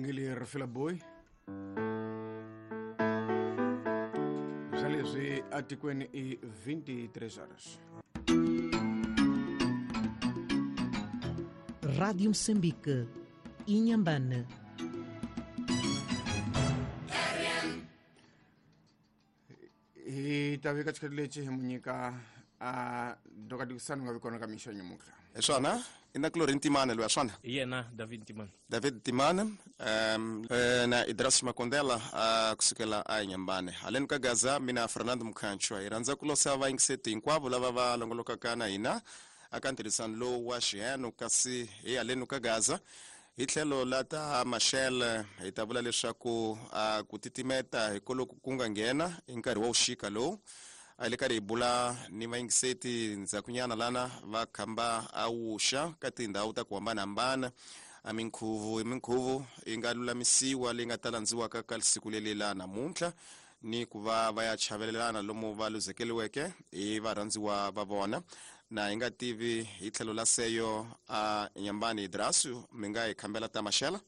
Bongile Rifila Boy swa leswi atikweni i 23 horas. Rádio Moçambique, Inhambane. Hi ta vika xikhathi lexi hi mu nyika a dokatikisani nga vi kona ka mixo nyamutlha. Hi swona, i na Clorin Timana loyi a swona. Hi yena David Timana. David Timana na Idras Makondela a kusukela a Inhambane. Haleni ka Gaza mina Fernando Mkhanchwa hi rhandza ku losa vayingiseti hinkwavo lava va longolokaka na hina aka ntirhisano lowu wa xiheno, kasi hi haleni ka Gaza hi tlhelo la ta Machel hi ta vula leswaku a ku titimeta hi koloku ku nga nghena hi nkarhi wa vuxika lowu a hi le karhi hi bula ni vayingiseti ndzhakunyana lana va khamba a wuxa ka tindhawu ta ku hambanahambana a minkhuvo hi minkhuvo yi nga lulamisiwa leyi nga ta landziwaka ka siku leli la namuntlha ni ku va va ya chavelelana lomu va luzekeliweke hi varhandziwa va vona. Na hi nga tivi hi tlhelo la seyo a Nyambani Idrasu mi nga hi khambela ta Maxela.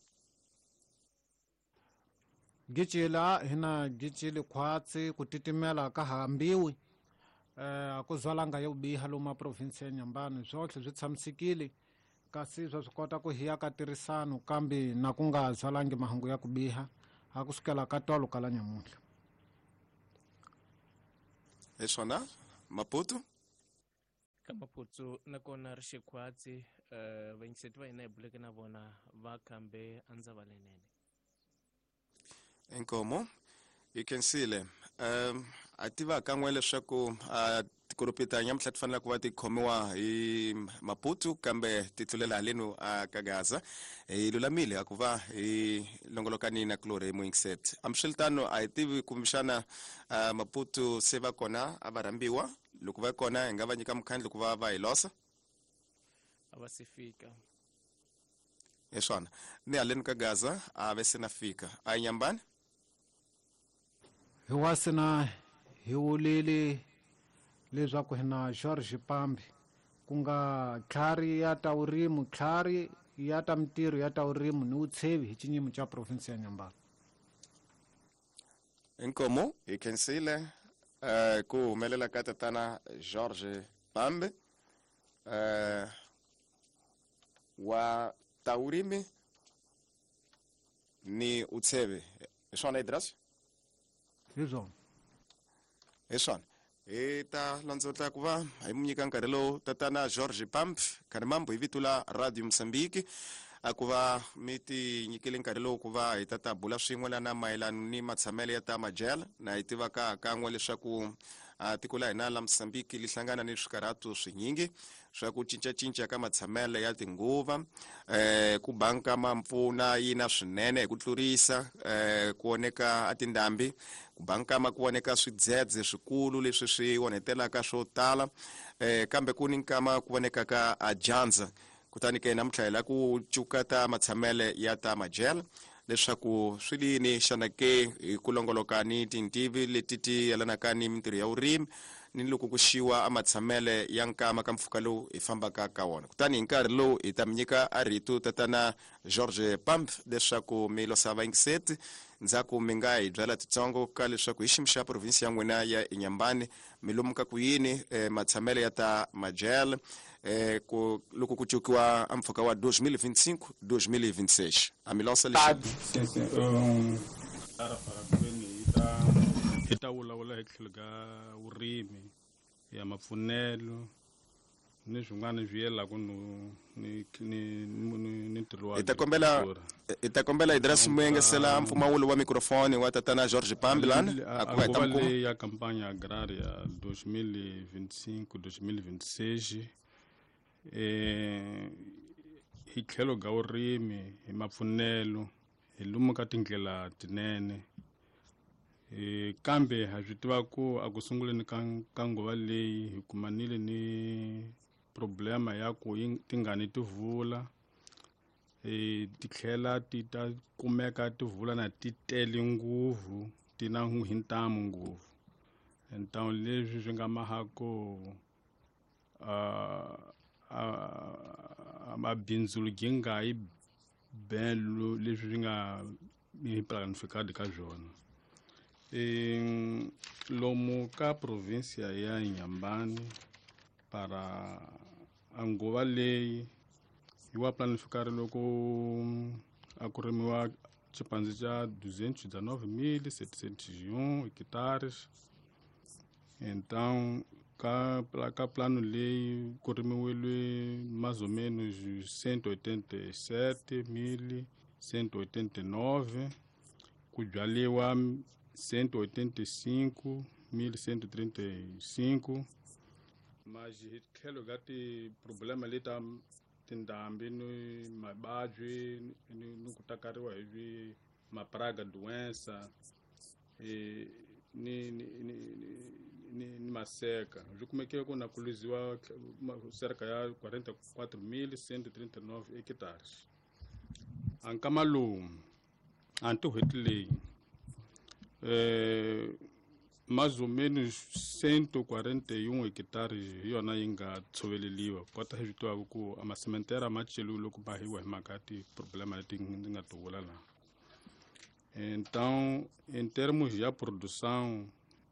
Gicila hina gicili khwatsi ku titimela ka hambiwi a ku zwalanga yo biha lomu province ya Nyambani swotlhe swi tshamisekile kasi swa swi kota ku hiya ka tirhisano kambe na ku nga zwalangi mahungu ya ku biha a ku sukela ka tolo ka la nyamuntlha. Hi swona Maputo. Ka Maputo nakona ri xikhwatsi vayingiseti va hina hi buleke na vona va khambe andzava lenene. Inkomo hi khensile. A tiva kan'we leswaku tikolopi ta nyamutlha ti fanele ku va ti khomiwa hi Maputo kambe ti tlulela halenu a ka Gaza. Hi lulamile a ku va hi longolokani na Glory Muyingiseti. Hambiswiritano a hi tivi kumbexana Maputo se va kona a va rhambiwa, loko va kona hi nga va nyika mukhandlu ku va va hi losa. A va se fika. Hi swona ni haleni ka Gaza a ve se na fika. A hi Nyambani. Hi wasina hi wulile leswaku hi na George Pambi ku nga tlhari ya ta vurimi, tlhari ya ta mintirho ya ta vurimi ni vutshevi hi xinyimo xa province ya Nyambani. Inkomo hi khensile ku humelela ka tatana George Pambi wa ta vurimi ni utsheve. Hi swona Idras? Hi swona. Hi swona. Hi ta landzotla ku va hi mu nyika nkarhi lowu tatana George Pambi Khanimambo hi vito la Radio Mozambique a ku va mi ti nyikile nkarhi lowu ku va hi ta ta bula swin'we lana mayelana ni matshamelo ya ta majele. Na hi tivaka kan'we leswaku tiko la hina la Mozambique li hlangana ni swikarhato swinyingi swa ku cincacinca ka matshamelo ya tinguva, ku banka ma mpfuna yina swinene hi ku tlurisa, ku oneka a tindhambi, ku banka ma ku voneka swidzedze swikulu leswi swi onhetelaka swo tala, kambe ku ni nkama ku vonekaka a dyandza. Kutani ke namuntlha hi la ku cuka ta matshamele ya ta majele leswaku swi lini xana ke hi ku longoloka ni tintivi leti ti yelanaka ni mintirho ya vurimi ni loko ku xiwa a matshamele ya nkama ka mpfhuka lowu hi fambaka ka wona. Kutani hi nkarhi lowu hi ta mi nyika a rito tatana George Pambi leswaku mi losa vayingiseti ndzhaku mi nga hi byela titsongo ka leswaku hi xiyimo xa province ya n'wina ya Inhambane mi lomuka ku yini matshamele ya ta majele ku loko ku cukiwa a mpfhuka wa 2025 2026. A mi losa lexi. Sim, sim. Hi ta vulavula hi tlhelo ka vurimi ya mapfunelo ni swin'wana swi yelaka ni ni ni ntirho wa Hi ta kombela hi ta kombela Idris Muyengesela mpfumawulo wa mikrofoni wa tatana George Pambi lana a ku va hi ta nguva mukuma. leyi ya kampanya agraria 2025 2026 hi tlhelo ka vurimi hi mapfunelo hi lomu ka tindlela tinene, kambe ha swi tiva ku a ku sunguleni ka nguva leyi hi kumanile ni problema ya ku tingani ti vula, ti tlhela ti ta kumeka ti vula na ti tele ngopfu, ti na hi ntamu ngopfu. Então leswi swi nga maha ku mabindzu gi nga yi bem leswi swi nga planificado ka swona. Lomu ka província ya Inhambane para a nguva leyi yi wa planificar loko a ku rimiwa xipandzi xa 219,701 hectares. Então ka plano leyi ku rimiwile mais ou menos 187,189, ku byaliwa 185,135. Mas hi tlhelo ka ti-problema leta tindhambi ni mavabyi ni ku takariwa hi mapraga doença ni maseka, swi kumekile ku na ku luziwa cerca ya 44,139 hectares. A nkama lowu a nti leyi mais ou menos 141 hectares hi yona yi nga tshoveleliwa. Kota hi swi tivaka ku a masementera ma celiwe loko ma hiwa hi mhaka ya ti-problema leti ndzi nga ti vula laha. Então, em termos de produção,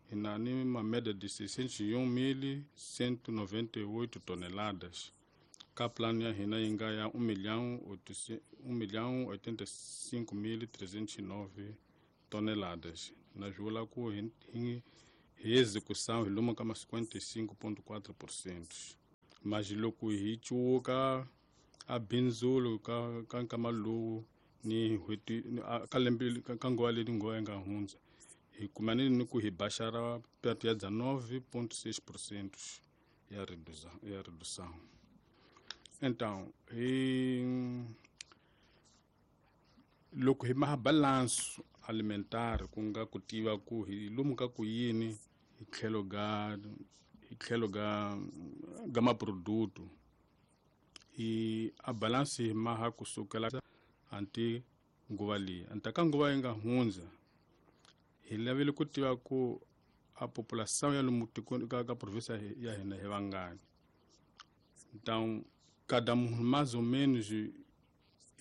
hi na ni uma média de 601.198 toneladas. Ka plano ya hina yi nga ya 1.085.309 toneladas. Na swi vula ku hi execução hi lomu ka ma 55,4%. Mas loko hi cuka a bindzulo ka nkama lowu ni n'hweti ka lembe ka nguva leyi nguva yi nga hundza, hi kumanile ni ku hi baxara perto ya 19,6% ya redução. Então, loko hi maha balanço alimentar, ku nga ku tiva ku hi lomu ka ku yini hi tlhelo ga maproduto, hi a balance hi maha kusukela anti nguva leyi anta ka nguva yi nga hundza, hi lavile ku tiva ku a population ya lomu tikweni ka província ya hina hi vangani. Então, cada munhu mais ou menos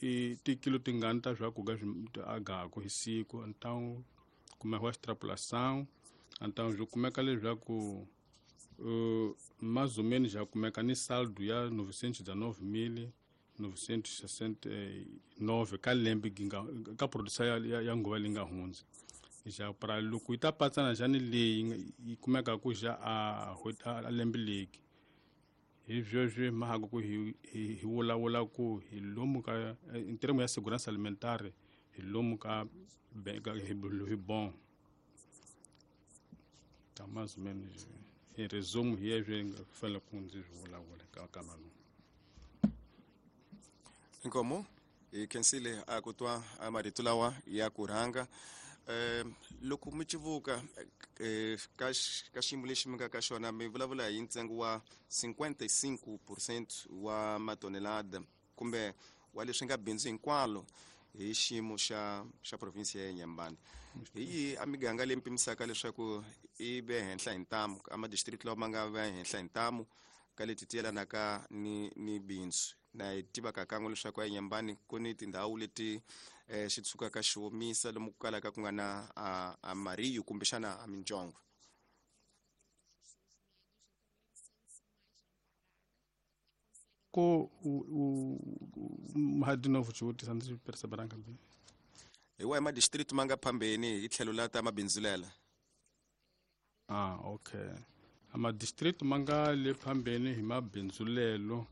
i tikilo tingani ta swakudya swi agaku hi siku. Então kumekiwa extrapolação. Então swi kumeka leswaku mais ou menos já kumeka ni saldo ya 919,969 ka lembe ka produção ya nguva leyi nga hundza. Ja para loko yi ta patsana xa ni leyi yi kumeka ku xa a lembe leki, hi sweswi mhaka ku hi vulavula ku hi lomu ka in termo ya segurança alimentar, hi lomu ka hi bon. Tá mais ou menos em resumo hi leswi nga fanele ku ndzi swi vulavula ka nkama lowu. Inkomo hi khensile a ku twa marito lawa ya ku rhanga. Loko mi civuka ka xiyimo lexi mi nga ka xona, mi vulavula hi ntsengo wa 55% wa matonelada kumbe wa leswi nga bindzu hinkwalo hi xiyimo xa province ya Inhambane. Hi yihi a miganga leyi mi pimisaka leswaku i ve henhla hi ntamu, a madistrict lawa ma nga ve henhla hi ntamu ka leti ti yelanaka ni bindzu? Na hi tivaka kan'we leswaku a Inhambane ku ni tindhawu leti xi tshukaka xi omisa lomu ku kalaka ku nga na a mariyu kumbexana a mintsongo. Ko de novo xivutiso ndzi perceberanga bem. Hi wahi madistrict ma nga phambeni hi tlhelo la ta mabindzulela? Okay. A madistrict ma nga le phambeni hi mabindzulelo,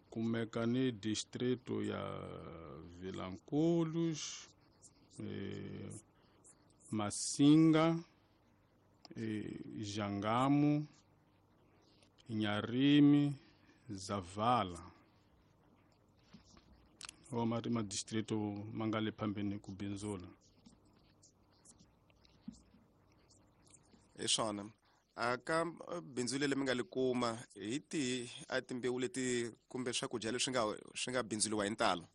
kumeka ni distrito ya Vilanculos, Massinga, Jangamo, Inharime, Zavala. O madistrito ma nga le phambeni ku bindzula. Hi swona. A ka bindzu leri mi nga li kuma hi tihi a timbewu leti kumbe swakudya leswi swi nga bindzuliwa hi ntalo?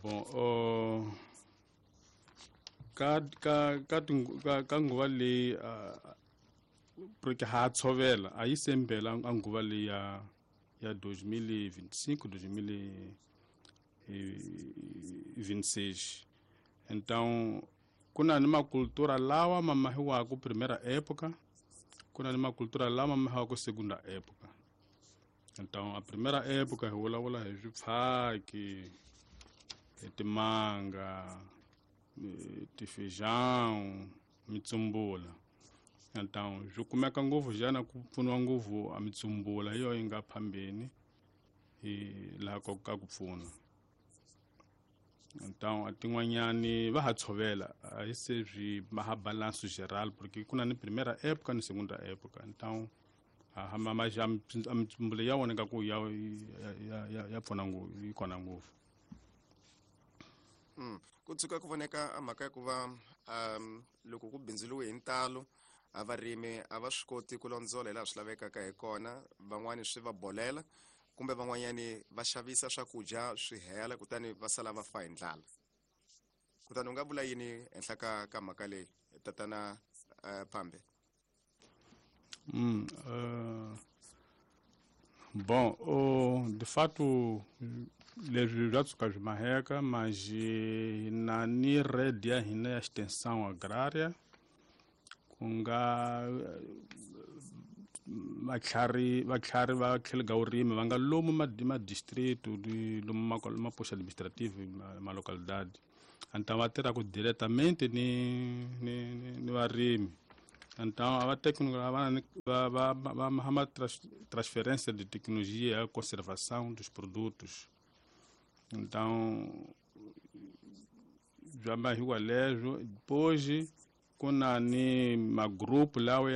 Bon, ka nguva leyi porque ha tshovela a yi sembela a nguva leyi ya 2025, 2026. Então ku na ni makultura lawa ma mahiwaka primeira época, ku na ni makultura lawa ma mahiwaka segunda época. Então a primeira época hi vulavula hi swipfhaki, hi timanga, tifeijão, mitsumbula. Então swi kumeka ngopfu xana ku pfuniwa ngopfu a mitsumbula hi yona yi nga phambeni hi laha ka ku pfuna. Então a tin'wanyani va ha tshovela, a hi se swi ma ha balanço geral, porque ku na ni primeira época ni segunda época. Então a mitsumbula ya voneka ku ya pfuna ngopfu, yi kona ngopfu. Ku tshuka ku voneka a mhaka ya ku va loko ku bindzuriwe hi ntalo, a varimi a va swi koti ku londzola hi laha swi lavekaka hi kona, van'wani swi va bolela kumbe van'wanyani va xavisa swakudya swi hela kutani va sala va fa hi ndlala. Kutani u nga vula yini henhla ka mhaka leyi, tatana Pambe? Bom, de fato leswi bya tshuka swi maheka, mas hi na ni rede ya hina ya extensão agrária, ku nga vatlhari va tlhelo ka vurimi va nga lomu ma distrito, lomu maposto administrative ma localidade. Então va tirhaka diretamente ni varimi. Então a técnico va ma transferência de tecnologia, a conservação dos produtos. Então bya mahiwa leswo. Depois ku na ni magrupu lawa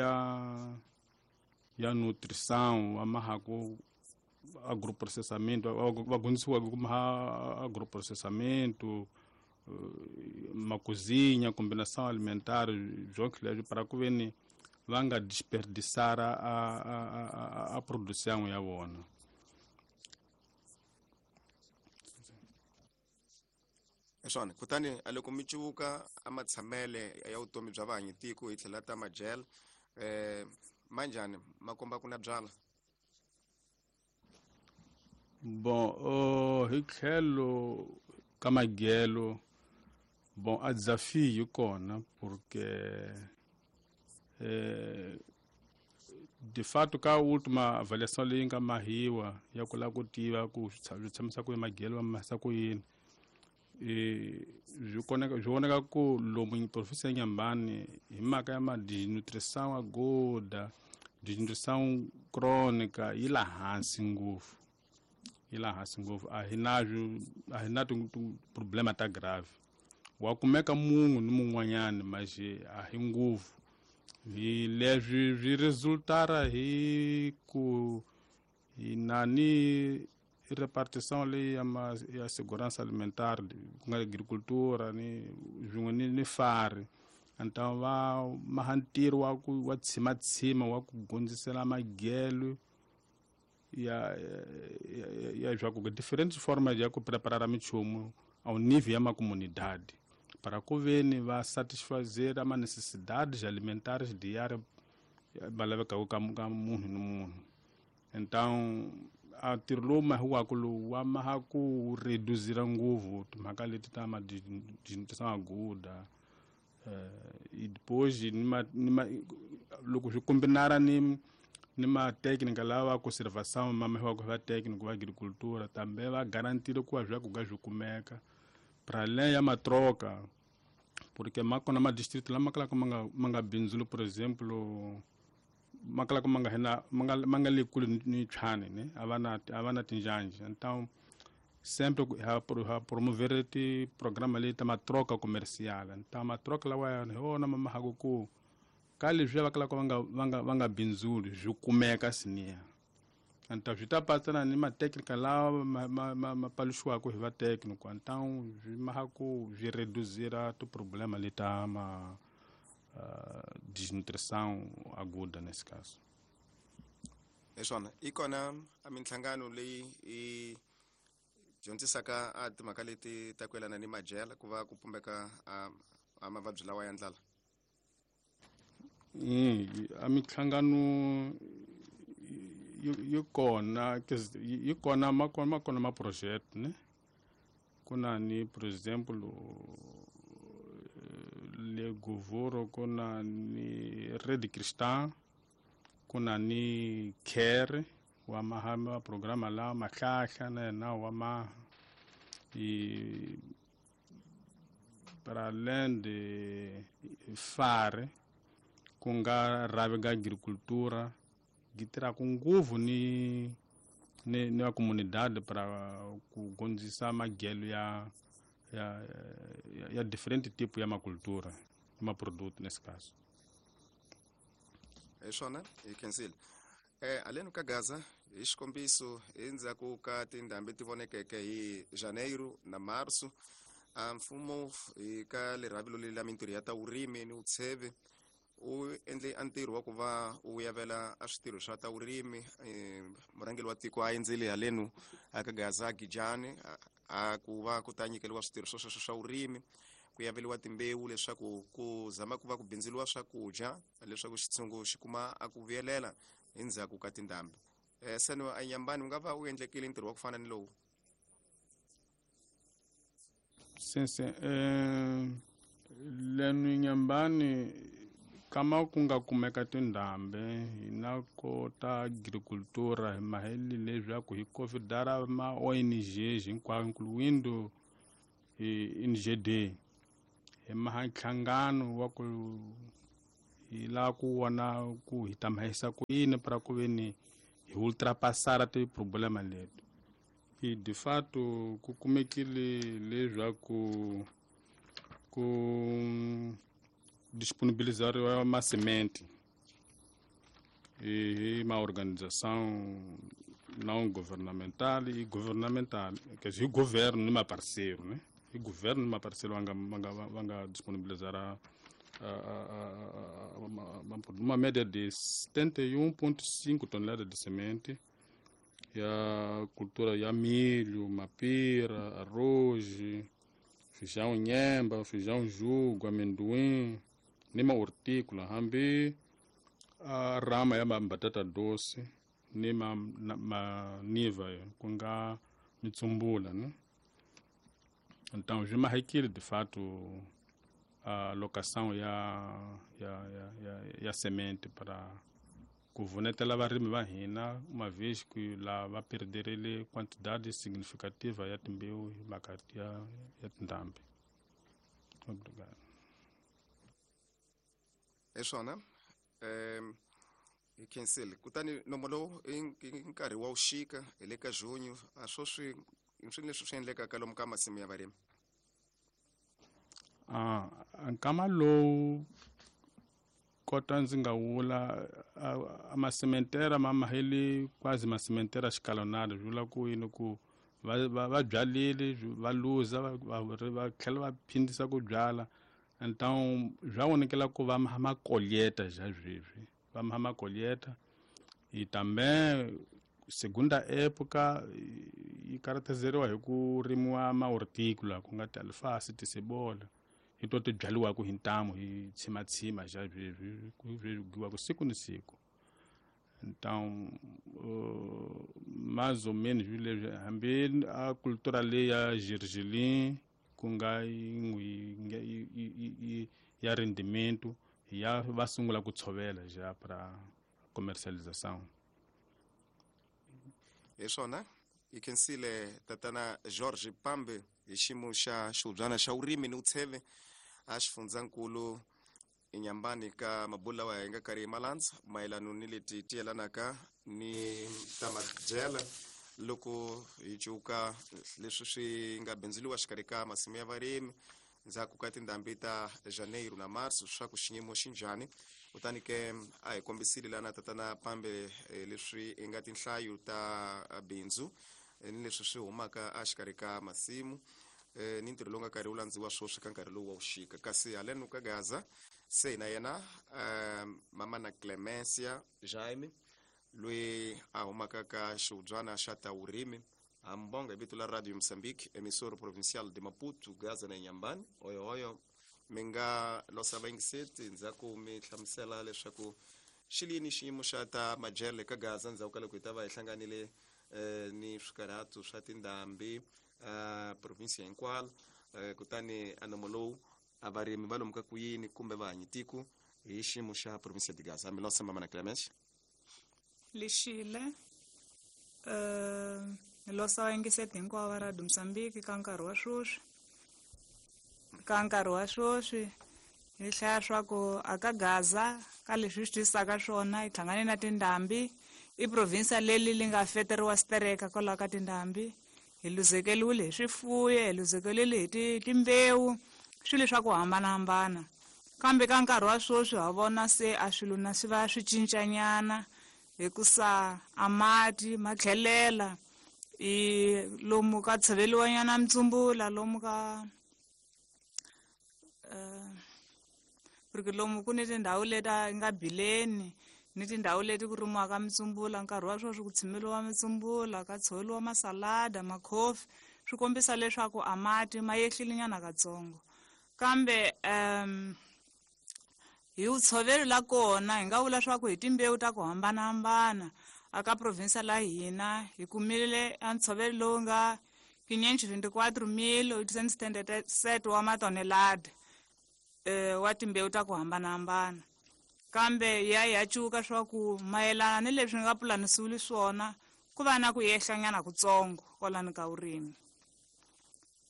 ya nutrição, va mahaku agroprocessamento, va dyondzisiwaka ku maha agroprocessamento, macozinha, combinação alimentar, jonke leswo, para ku ve ni va nga desperdiçar a produção ya vona. Hi swona. Kutani a loko mi cuvuka a matshamele ya vutomi bya vahanyi tiko hi tlhela ta madyela, manjhani ma komba ku na byala? Bon, hi tlhelo ka madyelo, bon, a desafio yi kona, porque de fato ka última avaliação leyi nga mahiwa ya ku lava ku tiva ku swi tshamisa ku yini madyelo, va mahisa ku yini, swi vonaka ku lomu provinsi ya Inhambane, hi mhaka ya ma desnutrição aguda, desnutrição crônica, yi la hansi ngopfu, yi la hansi ngopfu. A hi nazwo, a hi na problema ta grave. Wa kumeka munhu ni mun'wanyani, mas a hi ngopfu. Hi leswi swi resultara hi ku hi na ni repartição leyi ya segurança alimentar, ku nga agricultura ni swin'we ni fari. Então va maha ntirho wa ku wa tshimatsima wa ku gondzisela madyelo ya swa ku diferentes formas ya ku preparar minchumu ao nível ya macomunidade, para ku veni va satisfazer ama necessidades alimentares diárias va lavekaka ka munhu ni munhu. Então a ntirho lowu mahiwaka lowu wa maha ku reduzira ngopfu timhaka leti ta ma desnutrição aguda. E depois ni ma loko swi kombinara ni matécnica lawa conservação ma mahiwaka va técnico va agricultura, também va garantire ku va swakudya swi kumeka para além ya matroca, porque ma kona madistrito lama kalaka ma nga bindzuli, por exemplo, ma kalaka ma nga hina ma nga le kule ni Tshwane, ne a va na tinjhanjhi. Então sempre ha promover ti programa leti ta matroca comercial. Então matroca lawa hi wona ma mahaka ku ka leswiya va kalaka va nga bindzuli swi kumeka siniya. Então swi ta patsana ni matechnica lawa ma paluxiwaka hi va técnico. Então swi maha ku swi reduzira tiproblema leta ma desnutrição aguda nesse caso. Hi swona. Yi kona a minhlangano leyi yi dyondzisaka a timhaka leti ta ku yelana ni madyela ku va ku pumbeka a mavabyi lawa ya ndlala? A minhlangano Yi kona, yi kona, ma kona ma project ne. Ku na ni, por exemplo, le Govoro ku na ni Rede Cristã, ku na ni Care wa maha ma programa la Mahlahla na yena wa maha i para além de FARE, ku nga rhavi ga agricultura gi tirhaka ngopfu ni va comunidade para ku gondzisa magelo ya different tipo ya macultura, ma produto nesse caso. Hi swona, hi khensile. Haleni ka Gaza, hi xikombiso, endzhaku ka tindhambi ti vonekeke hi Janeiro na Marso, a mfumo hi ka lerhavilo leri la mintirho ya ta vurimi ni vutsheve u endle a ntirho wa ku va u yavela a switirho swa ta vurimi. Murhangeri wa tiko a endzele halenu aka Gaza Gijani a ku va ku ta nyikeliwa switirho swo sweswo swa vurimi, ku yaveliwa timbewu leswaku ku zama ku va ku bindzuriwa swakudya, leswaku xitshungu xi kuma a ku vuyelela endzhaku ka tindhambi. Seno anyambani u nga va u endlekile ntirho wa ku fana ni lowu? Sim. Lenu Nyambani kama ku nga kumeka tindhambi, hi na kota agricultura hi maheli leswaku hi convidar ma ONGs hinkwayo, incluindo NGD, hi maha nhlangano wa ku hi lava ku vona ku hi ta mahisa ku yini para ku ve ni hi ultrapassar ti-problema leti. I de fato ku kumekile leswaku ku disponibilizariwa masemente hi ma organização não governamental e governamental, quer dizer, governo ni maparceiro, né? E governo ni maparceiro va nga disponibilizar uma média de 71,5 toneladas de semente ya cultura ya milho, mapira, arroz, feijão nhemba, feijão jugo, amendoim, ni ma hortícola, hambi a rama ya batata doce ni ma, na, ma niva ku nga mitsumbula, né? Então swi mahekile de fato a locação ya semente para ku vunetela varimi va hina, uma vez que la va perderile quantidade significativa ya timbewu hi mhaka ya tindhambi. Obrigado. Hi swona, hi khensile. Kutani nomo lowu i nkarhi wa vuxika, hi le ka junho, a swo swi leswi swi endlekaka lomu ka masimu ya varimi? Ah, nkama lowu kota ndzi nga vula a masementera ma mahele quase masementera escalonado. Swi vula ku yini? Ku va byalile, va luza, va tlhela va phindisa ku byala. Então swa vonakela ku va makolheta já sweswi, va makolheta. E também segunda época yi caracterizeriwa hi ku rimiwa ma-hortícola, ku nga ti-alface, ti-cebola, hi to ti byaliwaka hi ntamu hi tshimatsima xa sweswi, ku giwaka siku ni siku. Então mais ou menos leswi, hambi a cultura leyi ya gergelim, ku nga yin'we ya rendimento, ya va sungula ku tshovela já para comercialização. Hi swona, hi khensile tatana George Pambe hi xiyimo xa xihubyana xa vurimi ni vutsheve a xifundzankulu Inyambani, ka mabulu lawa hi nga karhi hi malandza mayelano ni leti ti yelanaka ni ta madyela loko hi cuka leswi swi nga bindzuriwa xikarhi ka masimu ya varimi ndzhaku ka tindhambi ta Janeiro na Marso, swa ku xiyimo xi njhani. Kutani ke a hi kombisile lana tatana Pambe leswi hi nga tinhlayo ta bindzu ni leswi swi humaka exikarhi ka masimu ni ntirho lowu nga karhi wu landziwa swoswi ka nkarhi lowu wa vuxika. Kasi haleno ka Gaza se na yena mama na Clemencia Jaime, loyi a humaka ka xihubyana xa ta vurimi, hambonga hi vito la Radio Mozambique, emissora provincial de Maputo, Gaza na Inhambane. Oyo oyo, mi nga losa vayingiseti ndzhaku mi hlamusela leswaku Xi lini xiyimo xa ta madyelo eka Gaza ndzhaku ka loko hi ta va hi hlanganile ni swikarhatu swa tindhambi provinsia hinkwalo, kutani a nomo lowu a varimi va lomuka ku yini kumbe va hanyi tiko hi xiyimo xa provinsia de Gaza. Milosa mama na Clemens. Lexile losa vayingiseti hinkwavo va Radio Mozambique ka nkarhi wa sweswi. Ka nkarhi wa sweswi hi hlaya swa ku a ka Gaza ka leswi hi swi twisisaka swona hi hlangane na tindhambi, i provinsia leli li nga feteriwa stereka kwalaho ka tindhambi. Hi luzekeliwile hi swifuyo, hi luzekeliwile hi timbewu, swilo swa ku hambanahambana. Kambe ka nkarhi wa sweswi ha vona se a swilo na swi va swi cincanyana hikusa a mati ma tlhelela i lomu ka tshoveliwanyana mitsumbula, lomu ka porque lomu ku ni tindhawu leti a nga bileni ni tindhawu leti ku rimiwaka mitsumbula. Nkarhi wa sweswi ku tshimeliwa mitsumbula, ka tshoveliwa masalada, makhofi, swi kombisa leswaku a mati ma yehlile nyana katsongo. Kambe hi vutshovelo la kona hi nga vula swa ku hi timbewu ta ku hambanahambana aka provinsia la hina hi kumile a ntshovelo lowu nga 524,877 wa matonelada wa timbewu ta ku hambanahambana. Kambe ya cuka swa ku mayelana ni leswi nga pulanisiwile swona ku va na ku yehlanyana kutsongo kwalani ka vurimi.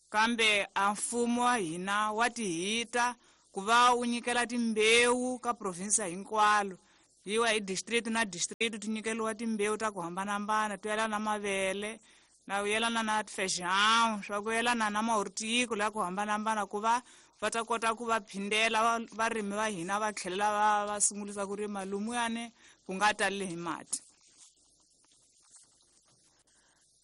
Kambe a mfumo wa hina wa tihita ku va wu nyikela timbewu ka provinsia hinkwalo, yiwa hi district na district ti nyikeliwa timbewu ta ku hambanahambana to yelana na mavele na ku yelana na feijão, swa ku yelana na mahortico la ku hambanahambana, ku va va ta kota ku va phindela varimi va hina va tlhelela va sungulisa ku rima lumuyani ku nga tali hi mati.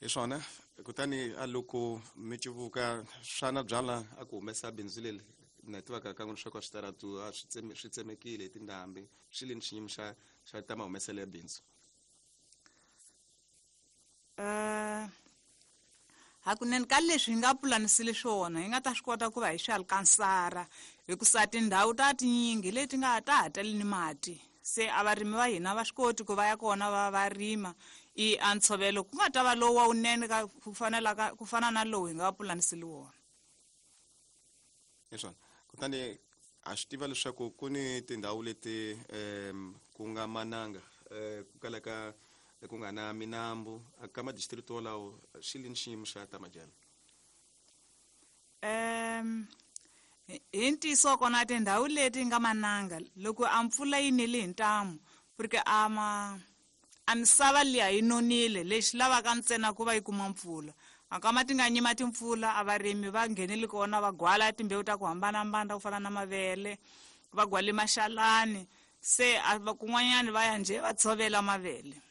Hi swona. Kutani a loko mi civuka swana byala a ku humesa bindzu leri na tivaka ka n'wina swa ku switaratu a swi tsemekile hi tindhambi, swi lini xiyimo xa ta mahumeselo ya bindzu? Hakunene ka leswi hi nga pulanisile swona hi nga ta swi kota ku va hi swi alkansara, hikusa tindhawu ta tinyingi leti nga ta ha tali ni mati, se a varimi va hina va swi koti ku va ya kona va rima. I a ntshovelo ku nga ta va lowu wa wunene ka ku fanela ka ku fana na lowu hi nga pulanisile wona. Hi swona. Kutani ha swi tiva leswaku ku ni tindhawu leti ku nga mananga, ku kalaka ku nga na minambu ka madistrict wolawo, xi lini xiyimo xa ta madyelo? Hi ntiyiso kona tindhawu leti nga mananga loko a mpfula yi nile hi ntamu, porque a ma a misava liya yi nonile, lexi lavaka ntsena ku va yi kuma mpfula. A kama ti nga nyima timpfula, a varimi va nghenile kona va gwala timbewu ta ku hambanahambana ku fana na mavele, va gwale maxalani, se a va kun'wanyani va ya njhe va tshovela mavele.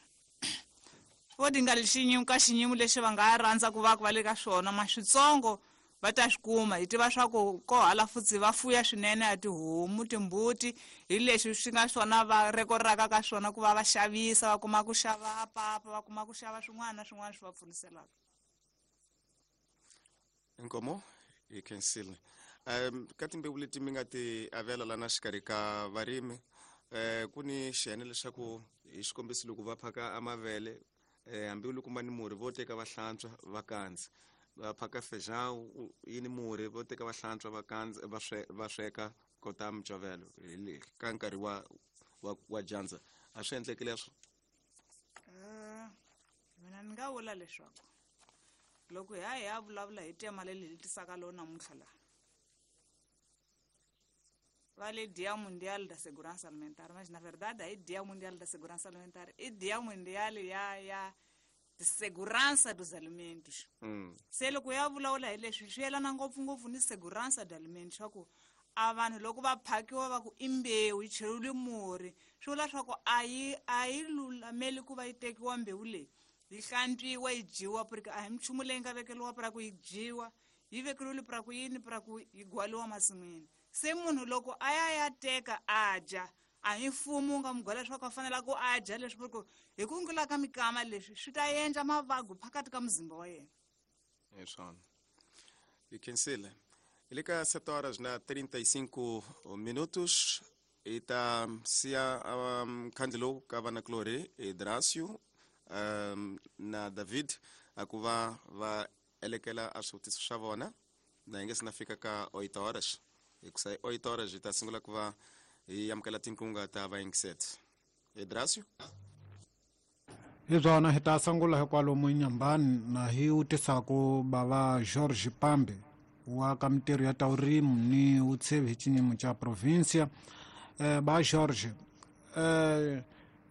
Vo ti nga xinyimo ka xinyimo lexi va nga rhandza ku va ku va le ka swona, ma switsongo va ta swi kuma. Hi tiva swa ku ko hala futsi va fuya swinene a tihomu, timbuti, hi leswi swi nga swona va rekoraka ka swona ku va va xavisa, va kuma ku xava papa, va kuma ku xava swin'wana na swin'wana swi va pfuniselaka. Inkomo hi khensile. Ka timbewu leti mi nga ti avela lana xikarhi ka varimi, ku ni xiyenge leswaku hi xikombiso loko va phaka a mavele, hambi loko ma ni murhi vo teka va hlantswa va kandza, va phaka feijão yi ni murhi vo teka va hlantswa va kandza va sweka kota micovelo hi le ka nkarhi wa dyandza. A swi endleki leswo? Mina ni nga vula leswaku loko hi ya hi ya vulavula hi tema leri hi tisaka lo namuntlha laha, va le Dia Mundial da Segurança Alimentar, mas na verdade aí Dia Mundial da Segurança Alimentar i Dia Mundial ya de Segurança dos Alimentos. Se loko ya vulavula hi leswi swi yelana ngopfungopfu ni segurança de alimentos, swa ku a vanhu loko va phakiwa va ku i mbewu yi cheriwile murhi, swi vula swa ku a yi lulameli ku va yi tekiwa mbewu leyi yi hlantswiwa yi dyiwa, porque a hi minchumu leyi nga vekeriwa pra ku yi dyiwa, yi vekeriwile pra ku yini, pra ku yi gwaliwa masin'wini. Se munhu loko a ya ya teka a dya, a hi mfumo wu nga n'wi gwala leswaku a fanele ku a dya leswi, porque hi ku ngula ka mikama leswi swi ta endla mavabyi phakathi ka muzimba wa yena. Hi swona. Hi khensile. Hi le ka 7 horas na 35 minutos. Hi ta siya mkhandlu lowu ka vanakulorhi Drasio na David a ku va va elekela a swivutiso swa vona na hi nge se na fika ka 8 horas, hikusa hi 8 horas hi ta sungula ku va hi amukela tinkunga ta vayingiseti. Drasio. Hi swona, hi ta sungula hikwalomu Nyambani na hi wutisaku bava George Pambe wa ka mintirho ya ta vurimi ni vutshevi hi xinyimo xa provincia. Ba George,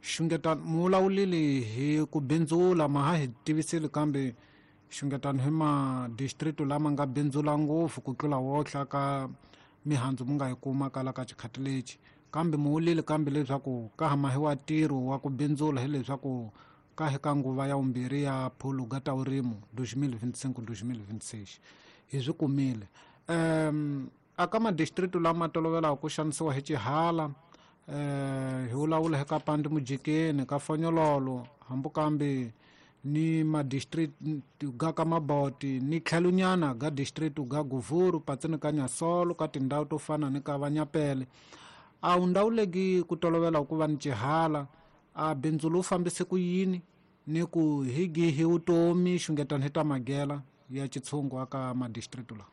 xungetano mu vulavulile hi ku bindzula, ma ha hi tivisile, kambe xungetano hi madistrict lama nga bindzula ngopfu ku tlula wohla ka mihandzu mu nga yi kuma kala ka xikhati lexi, kambe mu vulile kambe leswaku ka ha mahiwa ntirho wa ku bindzula hileswaku ka hi ka nguva ya vumbirhi ya phuluga ta vurimi 2025-2026 hi swi kumile. Aka madistrict lama tolovelaka ku xanisiwa hi xihala, hi vulavula hi ka Pandi Mujikeni, ka Fonyololo, hambi kambe ni madistrict ga ka Maboti ni tlhelonyana ga district ga Guvuru, patsini ka Nyasolo, ka tindhawu to fana ni ka Vanyapele. A wu ndhawu ku tolovela ku va ni xihala, a bindzu lowu fambise ku yini ni ku hi gihi vutomi xungetano hi ta magela ya xitshungu aka madistrict lawa?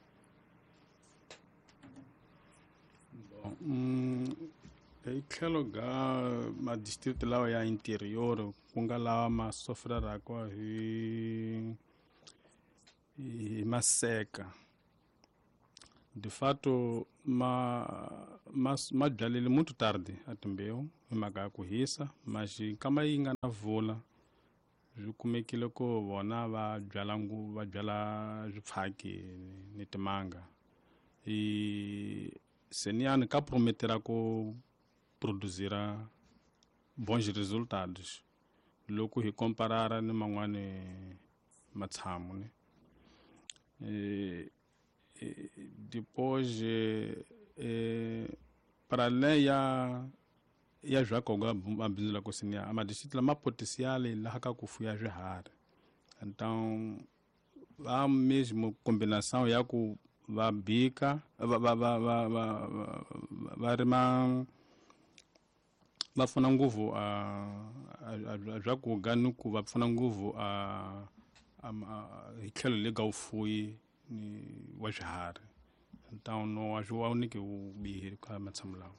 Hi tlhelo ga madistrict lawa ya interior, ku nga lawa ma sofreraka hi maseka, de fato ma byalile muito tarde a timbewu hi mhaka ya ku hisa, mas nkama yi nga na vula swi kumekile ku vona va byala va byala swipfhaki ni timanga. I seniyani ka prometera ku produzira bons resultados loko hi komparara ni man'wani matshamu ne. Depois para além ya zvakoga mabindzu la kusiniya a madistrict lama potencial laha ka ku fuya swiharhi, então va mesmo combinação ya ku va bika va va va va va va rima va pfuna ngopfu a swakudya ni ku va pfuna ngopfu a hi tlhelo le ka vufuwi ni wa swiharhi, então no wa swi wa nyike vubihi ka matshamu lawa.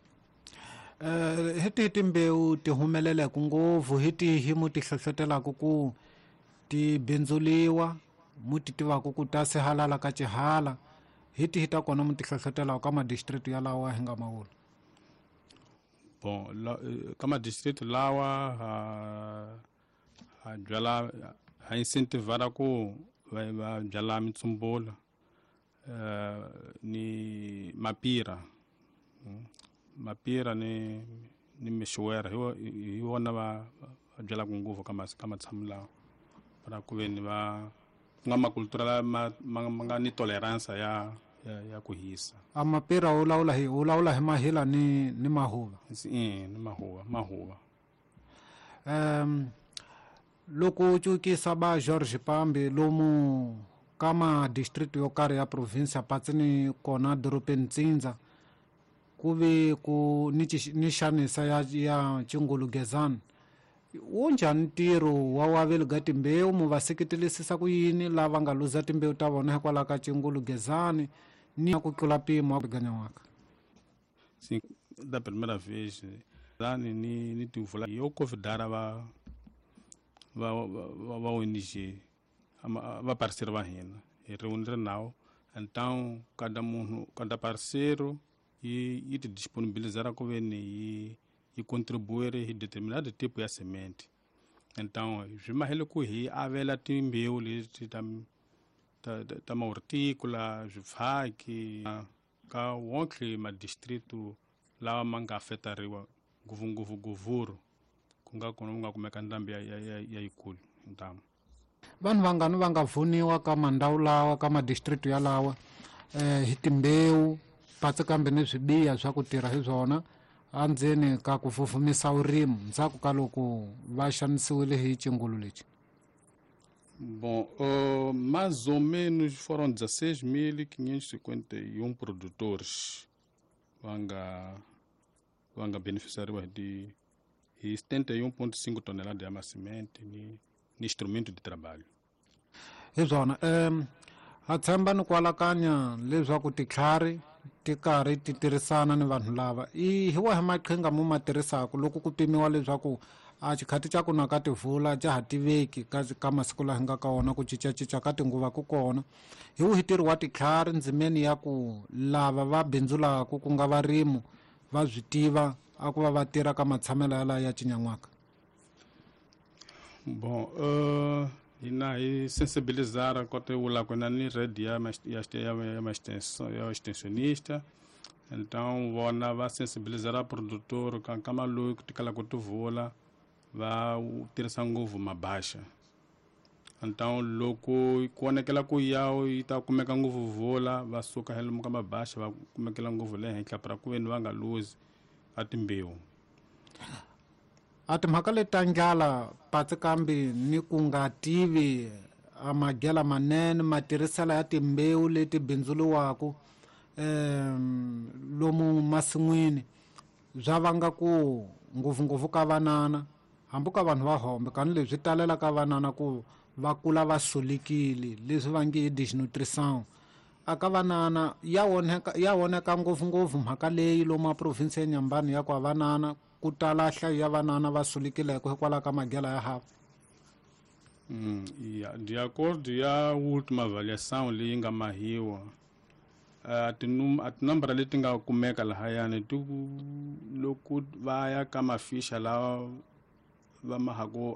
Hi tihi timbewu ti humeleleke ngopfu, hi tihi mu ti hlohlotelaka ku ti bindzuliwa, mu ti tivaka ku ta sihalala ka xihala, hi tihi ta kona mu ti hlohlotelaka ka madistrict yalawa hi nga ma vula? Bon, ka madistrict lawa ha byala, ha incentivara ku va byala mitsumbula ni mapira, mapira ni mixuwera, hi wona va byalaka ngopfu ka matshamu lawa, para ku ve ni va ku nga makultura lama ma nga ni tolerance ya ku hisa. A mapira u lawula hi mahila ni mahuva? Ni mahuva. Loko u cukisa ba George Pambe lomu ka madistrict yo karhi ya province patsini kona dorobeni Ntsindza, ku ve ku ni xanisa ya Chingulugezana, wu njhani ntirho wa waveli ga timbewu, mu va seketelisisa ku yini lava nga luza timbewu ta vona hikwalaho ka Chingulugezani ni ku tlula mpimo wa ganyawaka? Sim, da primeira vez ni tivula yo convidar va ONG va parceiro va hina hi reunir nao, então cada munhu, cada parceiro yi ti disponibilizar ku ve ni yi contribuir hi determinado tipo ya semente. Então swi mahele ku hi avela timbewu leti ta mahortícola, swifaki ka wonke madistrito lawa ma nga afetariwa ngopfungopfu Guvuru, ku nga kona ku nga kumeka ndhambi ya yikulu ntamu. Vanhu vangani va nga vuniwa ka mandhawu lawa, ka madistrict yalawa, hi timbewu patsi kambe ni swibiya swa ku tirha hi swona andzeni ka ku fufumisa vurimi ndzhaku ka loko va xanisiwile hi xingulu lexi? Bom, mais ou menos foram 16.551 produtores va Va nga beneficiariwa hi ti hi 71,5 tonelada ya masimente ni instrumento de trabalho. Hi swona, ha tshemba ni ku alakanya leswaku titlhari ti karhi ti tirhisana ni vanhu lava. I hi wahi maqhinga mo ma tirhisaka loko ku pimiwa leswaku a xikhati xa ku na ka tivula ja ha tiveki ka masiku laha hi nga ka wona, ku cincacinca ka tinguva ku kona? Hi wihi ntirho wa titlhari ndzimeni ya ku lava va bindzulaka, ku nga varimu, va swi tiva a ku va va tirha ka matshamelo yalayo ya cinyan'waka? Bon, hina hi sensibilizar kota vula ku na ni rede ya extensionista, então vona va sensibilizar produtor ka nkama loyi ku tikala ku tivula va tirhisa ngopfu mabaxa. Então loko ku vonekela ku ya yi ta kumeka ngopfu vula, va suka hi lomu ka mabaxa, va kumekela ngopfu le henhla para ku veni va nga luzi a timbewu. A timhaka leti ta ndlala patsi kambe ni ku nga tivi a magela manene matirhiselo ya timbewu leti bindzuriwaka lomu masin'wini bya vanga ku ngopfungopfu ka vanana, hambi ka vanhu va hombe, kani leswi talela ka vanana ku va kula va solekile, leswi va nge i desnutrition. A ka vanana ya onheka ngopfungopfu mhaka leyi lomu a province ya Nyambani, ya ku a vanana ku tala nhlayo ya vanana va sulekileke hikwalaho ka magela ya hava. Ya, de acordo ya última avaliação leyi nga mahiwa, a tinambara leti nga kumeka lahayani ti loko va ya ka mafisha lawa va mahaku.